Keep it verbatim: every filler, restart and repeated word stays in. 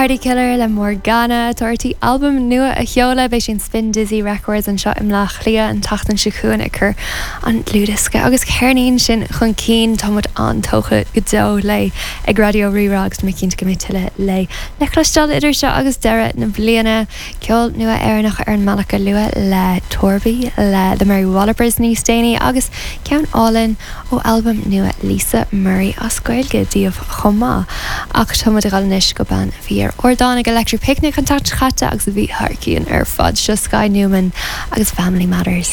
Party Killer le Morgana tá sí albam nua a sheoladh beidh sin Spin Dizzy Records anseo i mBaile Átha Cliath an tseachtain seo chugainn ag cur an dlúthdhiosca agus ceirnín sin chun cinn táimid an-tógtha go deo léi ag Raidió Rí-Rá agus mé cinnte go mbeidh tuilleadh léi. Le cloisteáil idir seo agus deireadh na bliana ceol nua Éireannach ar an mbealach go luath le Torby le The Mary Wallopers níos déanaí agus ceann álainn ó albam nua Lisa Murray as Gaeilge daoibh chomh maith. Ach táimid ag dul anois go bean a bhí ar ardán ag Electric Picnic an tseachtain seo caite agus a bhí thar cionn ar fad seo Sky Newman agus Family Matters.